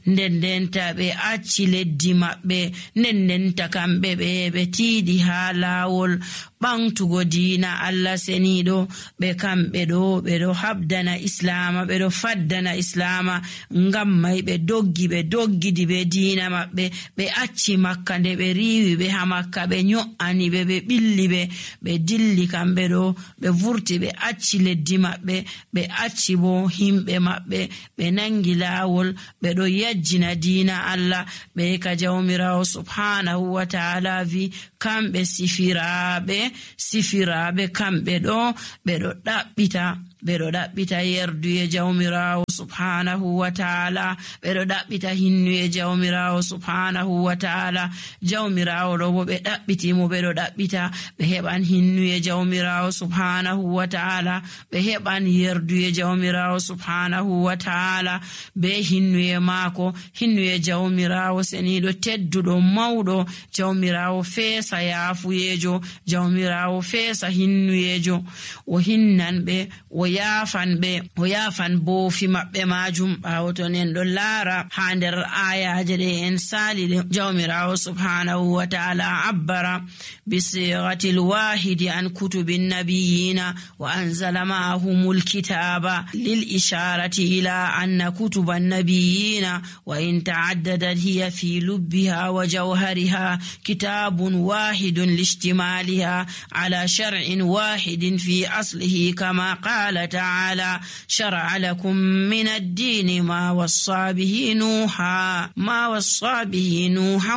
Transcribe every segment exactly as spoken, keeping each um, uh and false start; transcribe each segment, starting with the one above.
nden denta ɓe acci leddi maɓɓe, nden denta kamɓe ɓe ɓe tiiɗi haa laawol ɓamtugo diina Allah seniiɗo. ɓe kamɓe ɗo ɓe ɗo habdana islama, ɓe ɗo faddana islama, ngam may ɓe doggi ɓe doggidi ɓe diina maɓɓe, ɓe acci makka nde ɓe riiwi ɓe ha makka, ɓe nyo'ani ɓe ɓe ɓilli ɓe ɓe dilli kamɓe ɗo ɓe vurti ɓe acci leddi maɓɓe, ɓe acci bo himɓe maɓɓe, ɓe nangi laawol ɓe ɗo yajjina diina Allah. ɓe ka jawmirawo subhanahu wa ta'ala vi kamɓe sifiraaɓe sifiraaɓe kamɓe ɗo ɓe ɗo ɗaɓɓita ɓe ɗo ɗaɓɓita yerduye jawmirawo subhanahu wa ta'ala, ɓe ɗo ɗaɓɓita hinnuye jawmirawo subhanahu wa ta'ala. jawmirawo ɗo bo ɓe ɗaɓɓitimo ɓe ɗo ɗaɓɓita ɓe heɓan hinnuye jawmirawo subhanahu wa ta'ala, ɓe heɓan yerduye jawmirawo subhanahu wa ta'ala be hinnuye maako, hinnuye jawmirawo seniɗo tedduɗo mawɗo, jawmirawo feesa yaafuyejo, jawmirawo feesa hinnuyejo, o hinnan ɓe o yaafan ɓe o yaafan boofi maɓɓe majum. ɓaawo to en ɗo laara ha nder ayaje ɗe en saali ɗe, jawmirawo subhanahu wa ta'ala abbara bisirati lwahidi an kutubi nabiyina wa anzala ma'ahumul kitaba lil isharati ila anna kutuba nabiyina wa in ta'addadat hiya fi lubbiha wa jawhariha kitabun wahidun lishtimaliha ala shar'in wahidin fi aslihi kama qala تعالى شرع لكم من الدين ما وصى به نوحا ما وصى به نوحا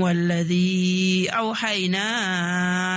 والذي أوحينا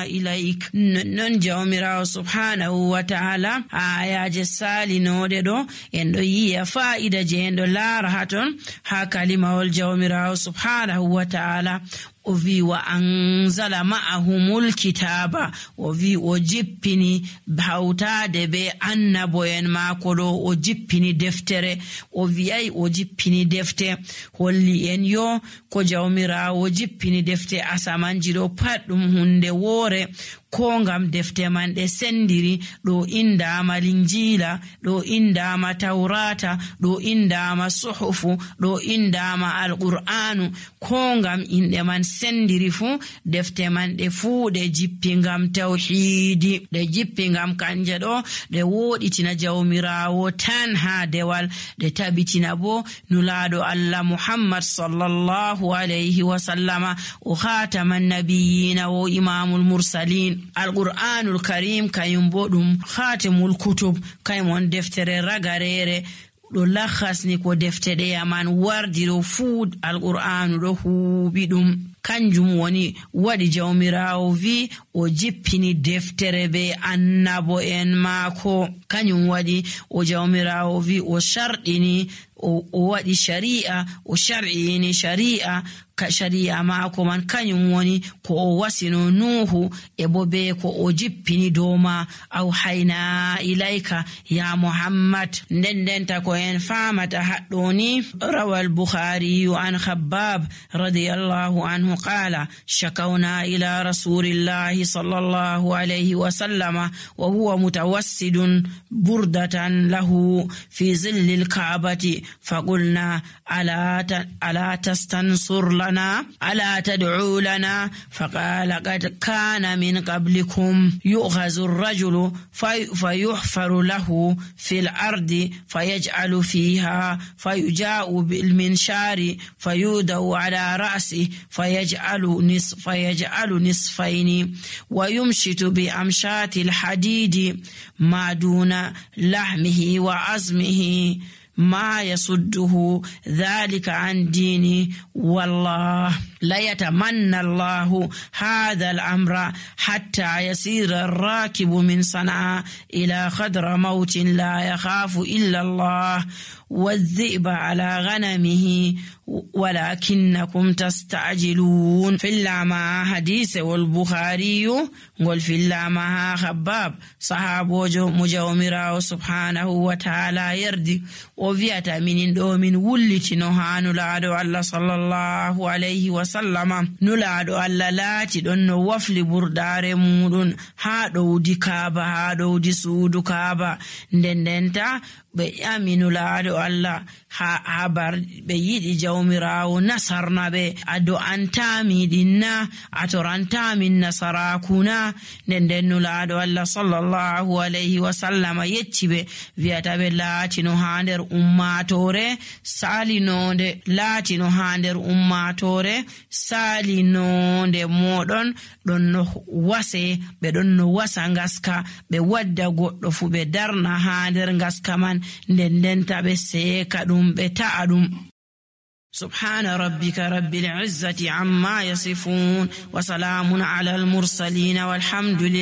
إليك. نون جومرا سبحانه وتعالى آيات السالي نوددو يندو يي فائدة جيندو لارهاتون ها كلمة الجومرا سبحانه وتعالى o wi wa anzala ma'ahumul kitaba, o wi o jippini hawtade be annabo'en maako ɗo, o jippini deftere, o wiyai o jippini defte, holli en yo ko jawmirawo jippini defte asamanji ɗo pat ɗum hunde woore, ko ngam defte man ɗe sendiri. ɗo indama linjila, ɗo indama taurata, ɗo indama suhufu, ɗo indama alqur'anu, ko ngam inɗe man sendiri fu defte man ɗe fuu ɗe jippi ngam tawhidi, ɗe jippi ngam kanje ɗo ɗe woɗitina jawmirawo tan ha dewal, ɗe tabitina bo nulaɗo Allah Muhammad sallallahu alayhi wa sallama o khataman nabiyina wo imamul mursalin. alqur'anul karim kayum bo ɗum khatimul kutub, kaymon deftere ragarere ɗo lakhasni ko defte ɗe yaman wardi ɗo fuu alqur'anu ɗo huuɓi ɗum. kanjum woni waɗi jawmirawo vi o jippini deftere be annabo en maako, kanyum waɗi o jawmirawo vi o sharɗini o waɗi shari'a, o shar'ini shari'a ka shari'a maako man kanyum woni ko o wasino nuhu e bo be ko o jippini doma aw hayna ilayka ya muhammad. nden denta ko en famata haɗɗoni rawal bukhari an khabbab radiyallahu anhu qala shakawna ila rasulillahi sallallahu alayhi wa sallama wa huwa mutawassidun burdatan lahu fi zillil ka'bati faqulna ala ala tastansur lana ala tad'u lana faqala qad kana min qablikum yu'khazu ar-rajulu fayuhfaru lahu fil ardi fayaj'alu fiha fayuja'u bil minshari fayudau ala ra'si fayaj'alu nisf fayaj'alu nisfaini wa yumshitu bi amshati al-hadidi ma duna lahmihi wa azmihi ما يصده ذلك عن ديني والله لا يتمنى الله هذا الأمر حتى يسير الراكب من صنعاء إلى خضر موت لا يخاف إلا الله والذئب على غنمه ولكنكم تستعجلون. في اللامة حديث والبخاري قل في اللامة خباب صحابه مجاومرا سبحانه وتعالى يردي وفيات من دومين ولت نهان لعدو الله صلى الله عليه وسلم نلعدو الله لاتي دون وفل بردار مودون هادو دي كابا هادو دي سودو كابا ندنتا be aminu laado Allah ha habar ɓe yiɗi jawmirawo nasarna ɓe a do'antami ɗinna a torantami nasarakuna. nden nden nulaɗo Allah sallallahu alayhi wa sallama yecci ɓe wiyata ɓe laatino ha nder ummatore salinonde laatino ha nder ummatore salinonde moɗon ɗon no wase ɓe ɗon no wasa ngaska ɓe wadda goɗɗo fu ɓe darna ha nder ngaska man nden ndenta ɓe seeka ɗum ɓe ta'a ɗum. subhana rabbika rabbil izzati amma yasifun wa salamun ala al mursalin walhamdulillah.